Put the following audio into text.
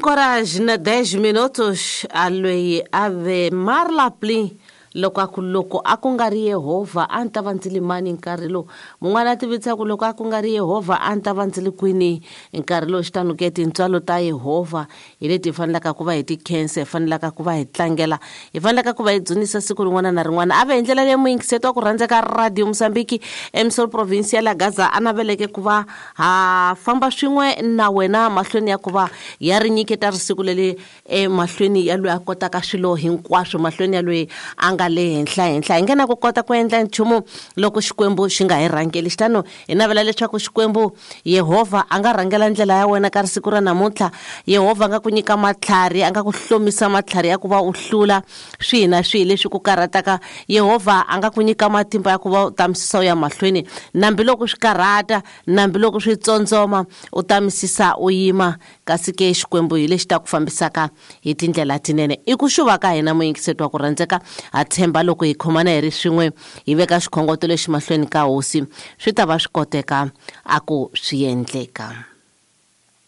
Horas na 10 minutos a loyi a ve Marla Plin loko a ku loko a ku nga ri Yehovha a ni ta va ndzi ri mani nkarhi lowu. Mun'wana a tivisa ku loko a ku nga ri Yehovha a ni ta va ndzi ri kwini nkarhi lowu. Xitano ke tintswalo ta Yehovha hi leti hi fanelaka ku va hi ti khensa, hi fanelaka ku va hi tlangela, hi fanelaka ku va hi dzunisa siku rin'wana na rin'wana. A ve hi ndlela leyi muyingiseti wa ku rhandzeka Radio Mozambique eMsol Province ya la Gaza a naveleke ku va ha famba swin'we na wena mahlweni ya ku va ya ri nyiketa risiku leri emahlweni ya loyi a kotaka swilo hinkwaswo, mahlweni ya loyi a nga le henhla henhla. Hi nge na ku kota ku endla nchumu loko Xikwembu xi nga hi rhangeli. Xitano hi navela leswaku Xikwembu Yehovha a nga rhangela ndlela ya wena ka risiku ra namuntlha. Yehovha a nga ku nyika matlhari, a nga ku hlomisa matlhari ya ku va u hlula swihi na swihi leswi ku karhataka. Yehovha a nga ku nyika matimba ya ku va u tamisisa u ya mahlweni nambi loko swi karhata, nambi loko swi tsondzoma, u tamisisa u yima. Kasi ke Xikwembu hi lexi ta ku fambisaka hi tindlela tinene. I ku xuva ka hina muyingiseti wa ku rhandzeka. Ha tshemba loko hi khomana hi ri swin'we hi veka xikhongoto lexi mahlweni ka Hosi, swi ta va swi koteka a ku swi endleka.